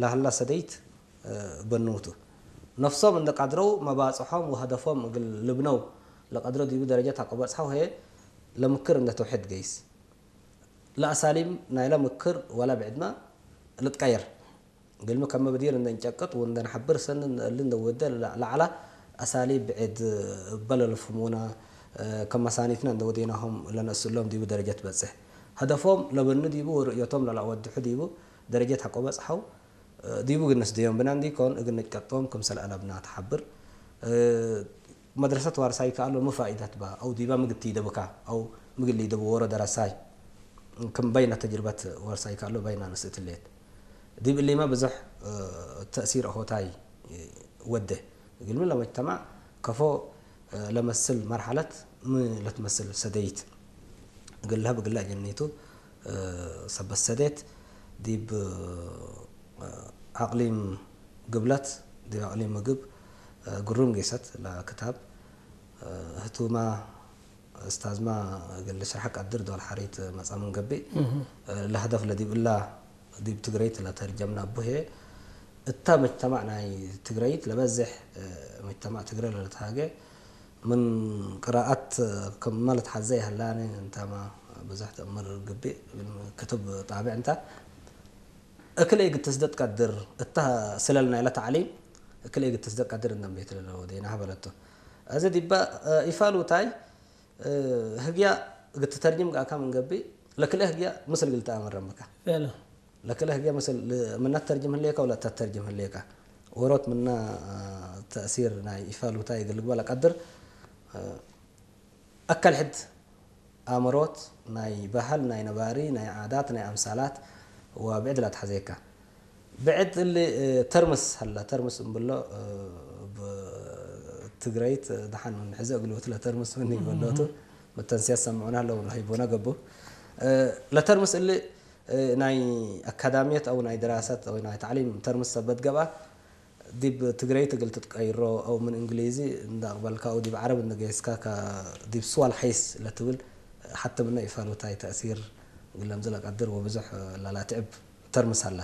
ላህላ ሰደይት በንውቱ ነፍሶም እንደ ቀድረው መባጽሖም ወሀደፎም እግል ልብነው ለቀድረው ዲቡ ደረጀት አቆበጽሐው ሄ ለምክር እንደ ተውሒድ ገይስ ለአሳሊም ናይለ ምክር ወላ ብዕድማ ልትቀየር ግልሚ ከም መብዲር እንደ እንጨቅጥ ወእንደ ንሐብር ሰን እሊ እንደ ወደ ለዓላ አሳሊ ብዕድ በለልፍሙና ከም መሳኒትና እንደ ወዴናሆም ለነእስሎም ዲቡ ደረጀት በጽሕ ሀደፎም ለበኑ ዲቡ ወርእዮቶም ለላወድሑ ዲቡ ደረጀት አቆበጽሐው ዲቡ ግንስ ድዮም ብና እንዲኮን እግን ንጨቅጦም ክምሰል አለብና ተሓብር መድረሰት ዋርሳይ ከኣሎ ምፋኢዳት ባ አው ዲባ ምግቲ ደብካ አው ምግሊ ደብ ወሮ ደረሳይ ክም በይና ተጅርበት ዋርሳይ ከኣሎ በይና ንስእትሌት ዲብ እሊማ ብዙሕ ተእሲር ሆታይ ወደ ግልሚ ለመጅተማዕ ከፎ ለመስል መርሐለት ም ለትመስል ሰደይት ግልሀ ብግላ ጀኒቱ ሰበት ሰዴት ዲብ አቅሊም ግብለት ዲብ አቅሊም ምግብ ግሩም ጌሰት ለክታብ ህቱማ እስታዝማ እግል ሽራሕ ቀድር ዶል ሓሪት መጻምን ገቢእ ለህደፍ ለዲብ እላ ዲብ ትግረይት ለተርጀምና ቡሄ እታ መጅተማዕ ናይ ትግረይት ለበዝሕ መጅተማዕ ትግረ ለለትሃገ ምን ቅራኣት ከመ ለትሓዘ ይሀላኒ እንታማ ብዙሕ ተእምር ግቢእ ክትብ ጣብዕ እንታ እክለ ግትስደት ቀድር እታ ስለል ናይለ ተዕሊም እክለ ግትስደት ቀድር እንደም ቤት ለለወ ዴና በለቶ እዚ ዲባ ኢፋሉታይ ህግያ ግትተርጅም ጋካ ምን ገቢ ለክለ ህግያ ምስል ግልታ አመረምካ ለክለ ህግያ ምስል ምና ተርጅም ህሌካ ወላ ተተርጅም ህሌካ ወሮት ምና ተእሲር ናይ ኢፋሉታ ይግልግባ ለቀድር አካል ሕድ አእምሮት ናይ ባህል ናይ ነባሪ ናይ ዓዳት ናይ አምሳላት ወብዕድ ላትሓዘካ ብዕድ እሊ ተርምስ ሀላ ተርምስ እንብሎ ትግረይት ደሓን ምን ሕዚ እግልብት ለተርምስ ምን ይበሎቱ መተንስያ ሰምዑና ኣለዉ ሂቦና ገቡ ለተርምስ እሊ ናይ አካዳሚየት አው ናይ ድራሰት ወይ ናይ ታዕሊም ተርምስ ሰበት ገብአ ዲብ ትግረይት እግል ትትቀይሮ አው ምን እንግሊዚ እንዳቅበልካ አው ዲብ ዓረብ እንደገይስካ ዲብ ስዋል ሐይስ ለትብል ሐተ ምነ ኢፋሉታይ ተእሲር ግለምዝ ለቀድር ወብዙሕ ላላትዕብ ተርምስ አለ።